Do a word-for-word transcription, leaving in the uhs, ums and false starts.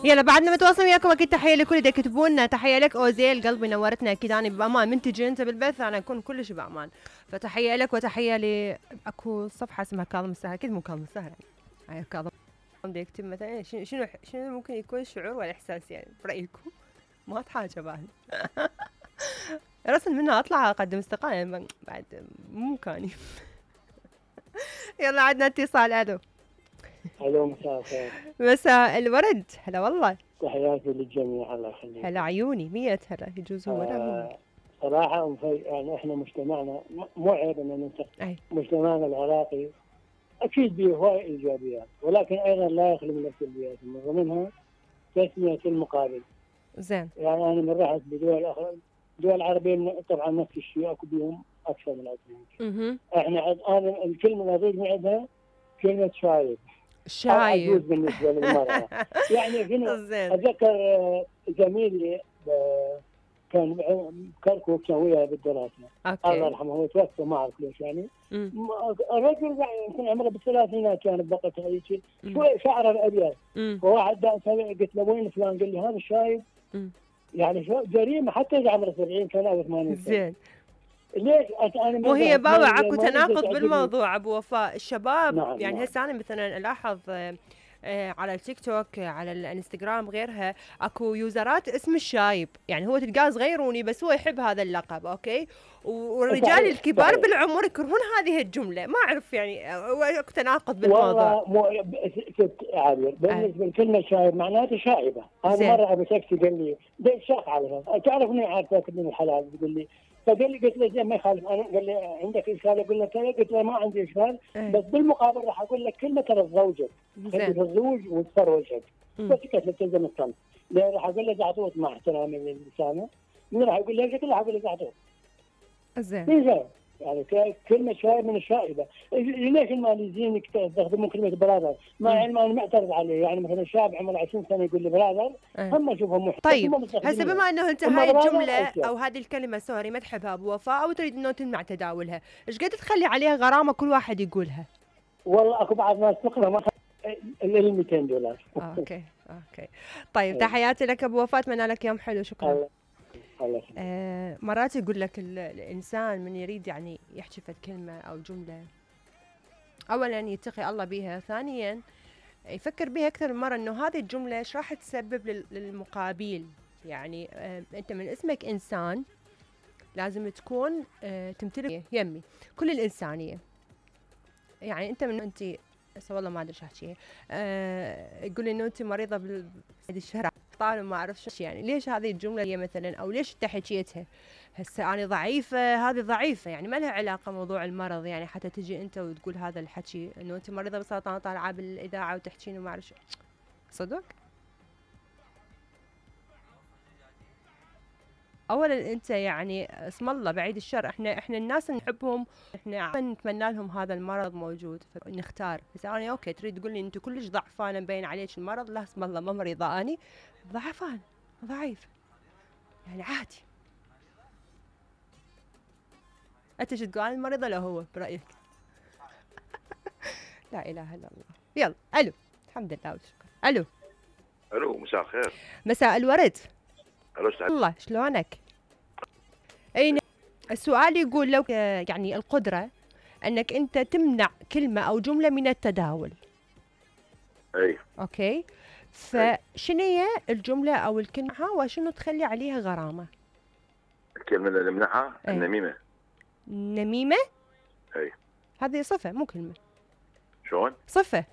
يلا بعدنا متواصل وياكم. اكيد تحيه لكل اللي يكتبوا لنا. تحيه لك اوزيل قلبي نورتنا. اكيد انا بامان من تجي انت بالبث انا اكون كلش بامان. فتحيه لك وتحيه ل اكو صفحه اسمها كاظم السهر. اكيد مو كاظم السهر يعني كاظم بده يكتب مثلا شنو شنو شنو ممكن يكون شعور ولا احساس يعني برايكم؟ ما اتحاجى بعد رسم منها اطلع اقدم استقاله بعد مو مكاني. يلا عندنا اتصال. الو الو مساء الخير. مساء الورد. هلا والله. تحياتي للجميع الله يخليك. هلا عيوني مية هلا. يجوز هو ولا مو صراحه يعني احنا مجتمعنا مو عيب ان ننتقد مجتمعنا العراقي اكيد به هواي ايجابيات ولكن ايضا لا يخلو من السلبيات من ضمنها تسميه المقابل. زين. يعني انا من رحت بدول اخرى دول عربيه طبعا نفس الشيء اكو بهم اكثر من عندنا. احنا انا الكلمه اللي اريد من عندها كلمه شايب. شايب. عجوز بالنسبه للمراه. يعني شنو اتذكر زميلي كان كركوك كان وياي بالدراسه. الله يرحمه هو توفى ما اعرف ليش يعني. الرجل يمكن عمره بالثلاثينات كان بقته هيك شوي شعره الابيض. وواحد قلت له وين فلان؟ قال لي هذا الشايب. يعني شو جريمه حتى اذا عمره سبعين سنه او ثمانين سنه. زين. ليش انا وهي بابا اكو تناقض بالموضوع ابو وفاء. الشباب نعم يعني نعم. هسه انا مثلا الاحظ على التيك توك على الانستغرام غيرها اكو يوزرات اسم الشايب. يعني هو تلقاه صغيروني بس هو يحب هذا اللقب. اوكي. والرجال الكبار صحيح. بالعمر يكرهون هذه الجمله. ما اعرف يعني اكو تناقض بالموضوع. والله ست عابر بالنسبه لكلمه شايب معناته شائبه. انا مره ابو سكسي قال لي ده شاف على تعرف اني عارفك من الحلال. بيقول لي فقال لي قلت له زين ما يخالف. انا قال لي عندك اشكال؟ اقول له كذا. قلت له ما عندي اشكال بس بالمقابل راح اقول لك كلمه ترى زوجك خلي الزوج وتصفر وجهك بس كيف تلزم الصمت. راح اقول له زعطوط مع احترامي للسامع. من راح يقول لي قلت له اقول له زعطوط. زين. يعني كلمه شايب من الشائبه. ليش الماليزيين يستخدمون كلمه برادر مع علم انا معترض عليه؟ يعني مثلا شاب عمره عشرين سنه يقول لي برادر هم اشوفهم محترم. طيب هسه بما انه انت هاي الجمله او هذه الكلمه سوري ما تحبها ابو وفاء او تريد انه تمنع تداولها ايش قد تخلي عليها غرامه كل واحد يقولها؟ والله اكو بعض ناس تقرا ما ال مئتين دولار. اوكي اوكي طيب تحياتي لك ابو وفاء. اتمنى لك يوم حلو. شكرا. آه مرات يقول لك الانسان من يريد يعني يحكي فد كلمه او جمله اولا يتقي الله بها. ثانيا يفكر بها اكثر من مره انه هذه الجمله ايش راح تسبب للمقابل. يعني آه انت من اسمك انسان لازم تكون آه تمتلك يمي كل الانسانيه. يعني انت من انت هسه والله ما ادري ايش احكي. آه يقول انه انت مريضه بالشهر طال ما اعرف شو. يعني ليش هذه الجمله هي مثلا او ليش انت حكيتها؟ هسه انا ضعيفه هذه ضعيفه يعني ما لها علاقه موضوع المرض. يعني حتى تجي انت وتقول هذا الحكي انه انت مريضه بالسرطان طالعه بالاذاعه وتحكين وما اعرف شو. صدق؟ اولا انت يعني اسم الله بعيد الشر. احنا احنا الناس نحبهم احنا نتمنى لهم هذا المرض موجود فنختار. بس انا اوكي تريد تقول لي انت كلش ضعفانه مبين عليك المرض. لا اسم الله ما مريضه اني ضعفان ضعيف يعني عادي. انت شو تقول المريضه لو هو برايك؟ لا اله الا الله. يلا الو. الحمد لله والشكر. الو الو مساء الخير. مساء الورد. الو الله شلونك؟ اي السؤال يقول لو يعني القدره انك انت تمنع كلمه او جمله من التداول. اي اوكي فشنو هي الجمله او الكلمه وشنو تخلي عليها غرامه؟ الكلمه اللي نمنعها النميمه. نميمه؟ اي هذه صفه مو كلمه. شلون؟ صفه.